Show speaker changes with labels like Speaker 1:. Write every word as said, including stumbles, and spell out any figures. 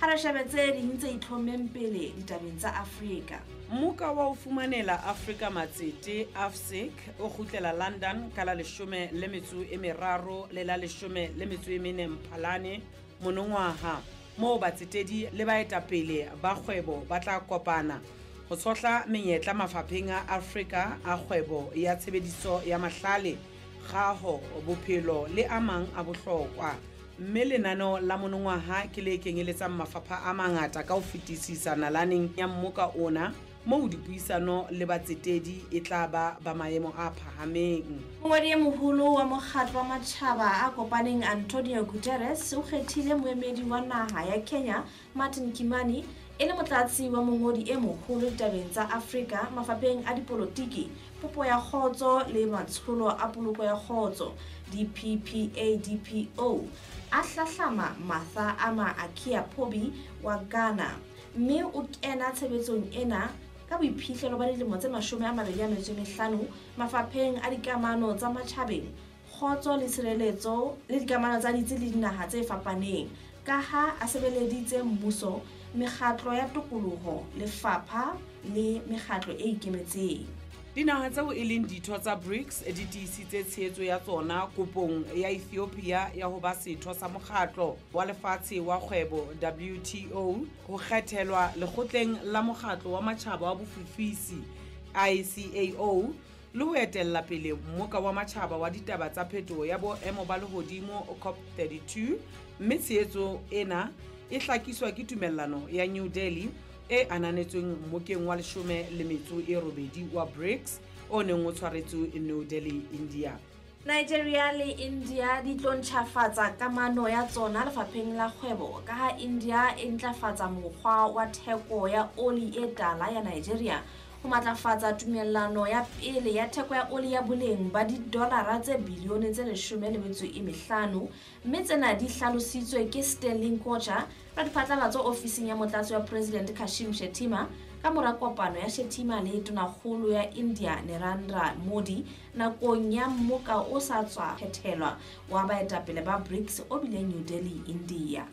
Speaker 1: Ha re shebe tse ding tse itlhommeng pele ditabeng tsa Afrika.
Speaker 2: Mmoka wa ho fumanela Afrika matsete A F S I C o kgutlela London ka la leshome le metso e meraro le la leshome le metso e mene Mphalane monongwaha, moo batsetedi le baetapele ba kgwebo ba tla kopana ho tshohla menyetla mafapheng a Afrika a kgwebo ya tshebediso ya mahlale, kgaho, bophelo le a mang a bohlokwa. Mme lenaneo la monongwaha ke le kenyeletsang mafapha a mangata ka ho fetisisa nalaneng ya mmoka ona, moo dipuisano le batsetedi e tla ba ba maemo a phahameng.
Speaker 1: Mongodi e Moholo wa Mokgatlo wa Matjhaba a Kopaneng Antonio Guterres o kgethile moemedi wa naha ya Kenya Martin Kimani e le motlatsi wa mongodi e moholo ditabeng tsa Afrika mafapheng a dipolotiki, popo ya kgotso le matsholo a poloko ya kgotso D P P A D P O, a hlahlama Martha Ama Akua Pobee wa Ghana, mme o kena tshebetsong ena ka boiphihlelo ba dilemo tse mashome a mabedi a metso e mehlano mafapheng a dikamano tsa matjhabeng, kgotso le tshireletso le dikamano tsa ditsi le dinaha tse fapaneng, ka ha a sebeleditse mmuso, mekgatlo ya tokoloho, lefapha le mekgatlo e ikemetseng.
Speaker 2: Dinaha tseo e leng ditho tsa BRICS di tiisitse tshehetso ya tsona kopong ya Ethiopia ya ho ba setho sa Mokgatlo wa Lefatshe wa Kgwebo W T O, ho kgethelwa Lekgotleng la Mokgatlo wa Matjhaba wa Bofofisi I C A O le ho etella pele Mmoka wa Matjhaba wa ditaba tsa Phetoho ya Boemo ba Lehodimo COP thirty-two, mme tshehetso ena e hlakiswa ke Tumellano ya New Delhi e ananetsweng Mmokeng wa leshome le metso e robedi wa BRICS o neng o tshwaretswe New Delhi, India.
Speaker 1: Nigeria le India di tlo ntjhafatsa kamano ya tsona lefapheng la kgwebo ka ha India e ntlafatsa mokgwa wa theko ya oli e tala ya Nigeria ho matlafatsa tumellano ya pele ya theko ya oli ya boleng ba didolara tse bilione tse leshome le metso e mehlano, mme tsena di hlalositswe ke Stanley Nkwocha, radiphatlalatso ofising ya motlatsi wa President Kashim Shettima, ka mora kopano ya Shettima le Tonakgolo ya India Narendra Modi nakong ya mmoka o sa tswa phethelwa wa baetapele ba BRICS o bileng New Delhi, India.